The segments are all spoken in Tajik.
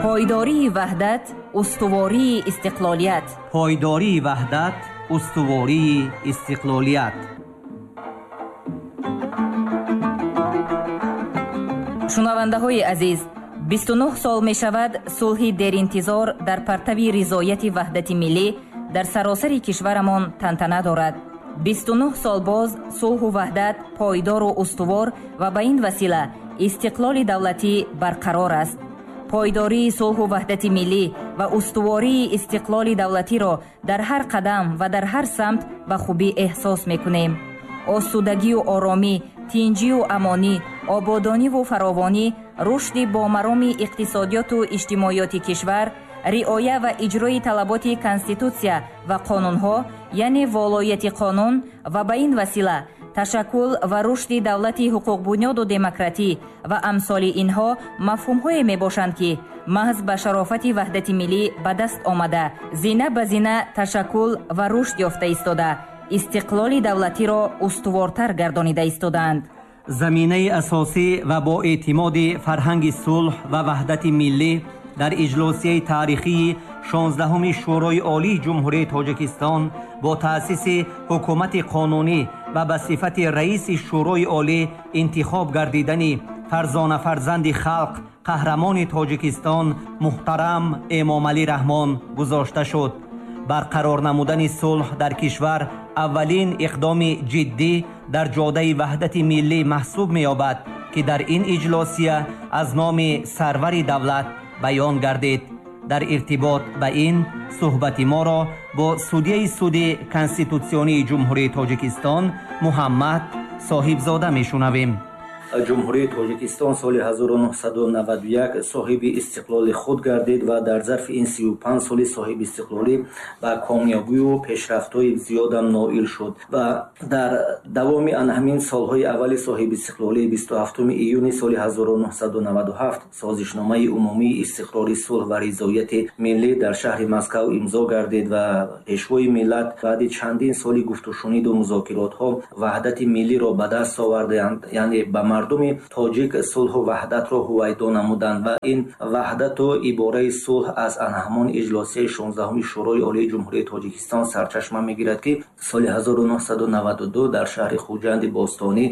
Пойдории ваҳдат, устувории истиқлолият. Пойдории ваҳдат, устувории истиқлолият. Шунавандаҳои азиз, 29 сол мешавад сулҳи деринтизор дар партави ризояти ваҳдати миллӣ дар саросари кишварамон тантана дорад. 29 сол боз сулҳу ваҳдат пойдору устувор ва ба ин васила истиқлоли давлатӣ барқарор аст. Пойдории сулҳу ваҳдати миллӣ ва устувории истиқлоли давлатиро дар ҳар қадам ва дар ҳар самт ба хубӣ эҳсос мекунем. Осудагию оромӣ, тинҷию амонӣ, ободониву фаровонӣ, рушди бомароми иқтисодиёту иҷтимоиёти кишвар, риоя ва иҷрои талаботи конститутсия ва қонунҳо, яъне волоияти қонун ва ба ин васила ташаккул ва рушди давлати ҳуқуқбунёду демократӣ ва амсоли инҳо мафҳумҳое мебошанд, ки маҳз ба шарофати ваҳдати миллӣ ба даст омада, зина ба зина ташаккул ва рушд ёфта истода, истиқлоли давлатиро устувортар гардонида истодаанд. Заминаи асосӣ ва бо эътимоди фарҳанги сулҳ ва ваҳдати миллӣ дар иҷлосияи таърихии 16-уми Шӯрои Олии Ҷумҳурии Тоҷикистон бо таъсиси ҳукумати қонунӣ ва ба сифати раиси Шӯрои Олӣ интихоб гардидани фарзона фарзанди халқ, қаҳрамони Тоҷикистон муҳтарам Эмомалӣ Раҳмон гузошта шуд. Барқарор намудани сулҳ дар кишвар аввалин иқдоми ҷиддӣ дар ҷодаи ваҳдати миллӣ маҳсуб меёбад, ки дар ин иҷлосия аз номи сарвари давлат баён гардид. Дар иртибот ба ин суҳбати моро бо судяи суди конститутсионии Ҷумҳурии Тоҷикистон Муҳаммад Соҳибзода мешунавем. Ҷумҳурии Тоҷикистон соли 1991 соҳиби истиқлоли худ гардид ва дар зарфи ин 35 соли соҳиби истиқлолӣ ба комёбию пешрафтҳои зиёдам ноил шуд ва дар давоми ҳамин солҳои аввали соҳиби истиқлолӣ 27 июни соли 1997 созишномаи умумии истиқрори сулҳ ва ризояти миллӣ дар шаҳри Москав имзо гардид ва пешвои миллат баъди чандин соли гуфтушуниду музокиротҳо ваҳдати миллиро ба даст оварданд, яъне ба мардуми тоҷик сулҳу ваҳдатро ҳувайдо намуданд ва ин ваҳдату ибораи сулҳ аз ҳамон иҷлосияи 16-уми Шӯрои Олии Ҷумҳурии Тоҷикистон сарчашма мегирад, ки соли 1992 дар шаҳри Хуҷанди бостонӣ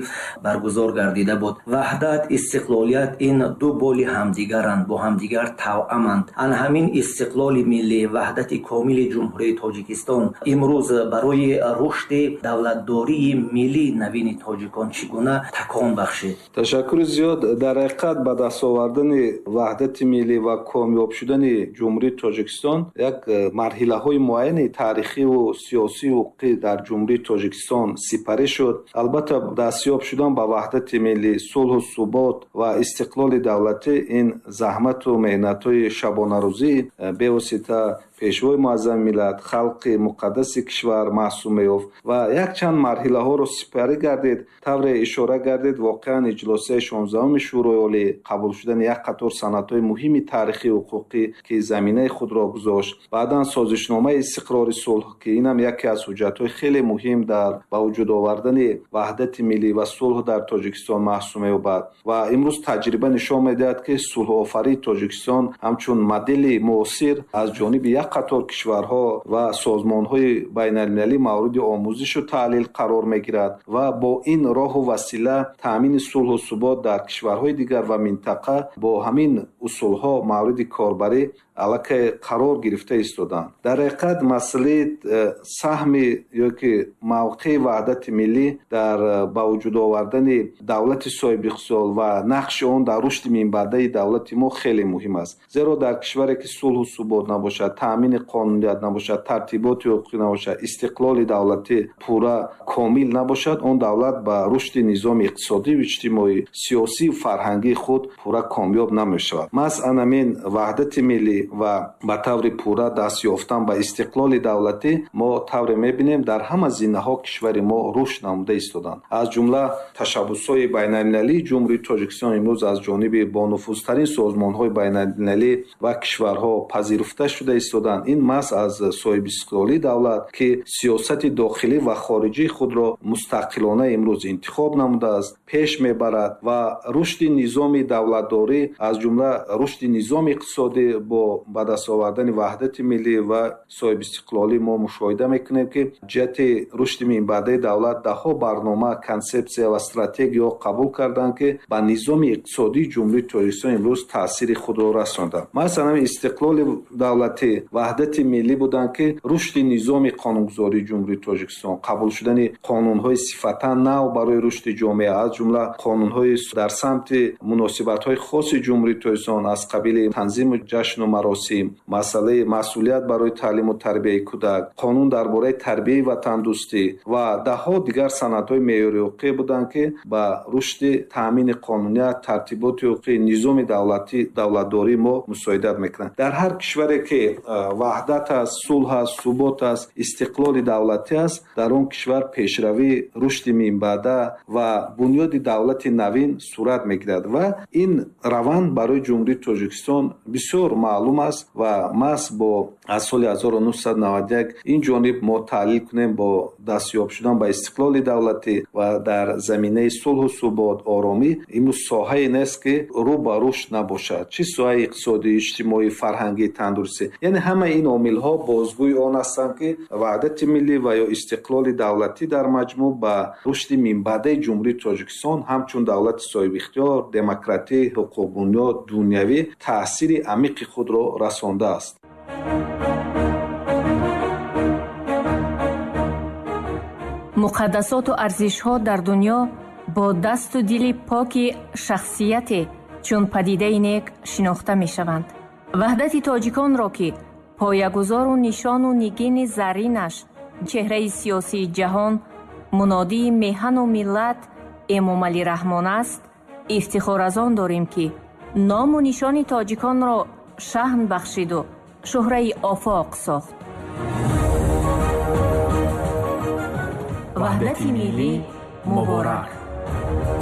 баргузор гардида буд. Ваҳдат, истиқлолият ин ду боли ҳамдигаранд, бо ҳамдигар тавъаманд. Ан ҳамин истиқлоли миллӣ, ваҳдати комили Ҷумҳурии Тоҷикистон имрӯз барои рушди давлатдории миллии навини тоҷикон чӣ гуна такон бахшид? Ташаккури зиёд. Дар ҳақиқат ба даст овардани ваҳдати миллӣ ва комёб шудани Ҷумҳурии Тоҷикистон як марҳилаҳои муайяни таърихиву сиёсию ҳуқуқӣ дар Ҷумҳурии Тоҷикистон сипарӣ шуд. Албатта, дастёб шудан ба ваҳдати миллӣ, сулҳу субот ва истиқлоли давлатӣ ин заҳмату меҳнатҳои шабонарӯзии бевосита пешвои муаззами миллат, халқи муқаддаси кишвар маҳсуб меёфт ва якчанд марҳилаҳоро сипарӣ гардид. Тавре ишора гардид, воқеан иҷлосияи 16-уми Шӯрои Олӣ қабул шудани як қатор санадҳои муҳими таърихию ҳуқуқӣ, ки заминаи худро гузошт, баъдан созишномаи истиқрори сулҳ, ки инам яке аз ҳуҷҷатҳои хеле муҳим дар ба вуҷуд овардани ваҳдати миллӣ ва сулҳ дар Тоҷикистон маҳсуб меёбад ва имрӯз таҷриба нишон медиҳад, ки сулҳофарии Тоҷикистон ҳамчун модели муосир аз ҷониби як қатор кишварҳо ва созмонҳои байналмилалӣ мавриди омӯзишу таҳлил қарор мегирад ва бо ин роҳу васила таъмини сулҳу субот дар кишварҳои дигар ва минтақа бо ҳамин усулҳо мавриди корбарӣ аллакай қарор гирифта истоданд. Дар ҳақиқат масъалаи саҳми ё ки мавқеи ваҳдати миллӣ дар ба вуҷуд овардани давлати соҳибихтисол ва нақши он дар рушди минбаъдаи давлати мо хеле муҳим аст. Зеро дар кишваре ки сулҳу субот набошад, таъмини қонуният набошад, тартиботи ҳуқуқӣ набошад, истиқлоли давлатӣ пурра комил набошад, он давлат ба рушди низоми иқтисодию иҷтимоӣ, сиёсию фарҳангии худ пурра комёб намешавад. Маҳз ҳамин ваҳдати миллӣ ва ба таври пурра даст ёфтан ба истиқлоли давлатӣ мо тавре мебинем дар ҳама зинаҳо кишвари мо рушд намуда истоданд. Аз ҷумла ташаббусҳои байналмилалии Ҷумҳурии Тоҷикистон имрӯз аз ҷониби бонуфузтарин созмонҳои байналмилалӣ ва кишварҳо пазируфта шуда истоданд. овардан. Ин маҳз аз соҳибистиқлолии давлат, ки сиёсати дохилӣ ва хориҷии худро мустақилона имрӯз интихоб намудааст, пеш мебарад ва рушди низоми давлатдорӣ, аз ҷумла рушди низоми иқтисодӣ бо ба даст овардани ваҳдати миллӣ ва соҳибистиқлолӣ мо мушоҳида мекунем, ки ҷиҳати рушди минбаъдаи давлат даҳҳо барнома, консепсия ва стратегияҳо қабул карданд, ки ба низоми иқтисодии Ҷумҳурии Тоҷикистон имрӯз таъсири худро расонданд. Масалан, истиқлоли давлатӣ, ваҳдати миллӣ буданд, ки рушди низоми қонунгузории Ҷумҳурии Тоҷикистон, қабул шудани қонунҳои сифатан нав барои рушди ҷомеа, аз ҷумла қонунҳои дар самти муносибатҳои хоси Ҷумҳурии Тоҷикистон аз қабили танзими ҷашну маросим, масъалаи масъулият барои таълиму тарбияи кӯдак, қонун дар бораи тарбияи ватандӯстӣ ва даҳҳо дигар санадҳои меъёрии ҳуқуқӣ буданд, ки ба рушди таъмини қонуният, тартиботи ҳуқуқӣ, низоми давлатӣ, давлатдории мо мусоидат мекунанд. Дар ҳар кишваре ки ваҳдат аст, сулҳ аст, субот аст, истиқлоли давлатӣ аст, дар он кишвар пешравӣ, рушди минбаъда ва бунёди давлати навин сурат мегирад ва ин раванд барои Ҷумҳурии Тоҷикистон бисёр маълум аст ва маҳз бо аз соли 1991 ин ҷониб мо таҳлил кунем бо дастёб шудан ба истиқлоли давлатӣ ва дар заминаи сулҳу субот, оромӣ имрӯз соҳае нест, ки рӯ ба рушд набошад, чӣ соҳаи иқтисодӣ, иҷтимоӣ, фарҳангӣ, тандурустӣ. Яъне ҳамаи ин омилҳо бозгӯи он ҳастанд, ки ваҳдати миллӣ ва ё истиқлоли давлатӣ дар маҷмӯъ ба рушди минбаъдаи Ҷумҳурии Тоҷикистон ҳамчун давлати соҳибихтиёр, демократӣ, ҳуқуқбунёд, дунявӣ таъсири амиқи худро расондааст. Муқаддасоту арзишҳо дар дунё бо дасту дили поки шахсияте чун падидаи нек шинохта мешаванд. Ваҳдати тоҷиконро, ки поягузору нишону нигини зарринаш чеҳраи сиёсии ҷаҳон, мунодии меҳану миллат Эмомалӣ Раҳмон аст, ифтихор аз он дорем, ки ному нишони тоҷиконро шаҳн бахшиду шӯҳраи офоқ сохт. Ваҳдати миллӣ муборак!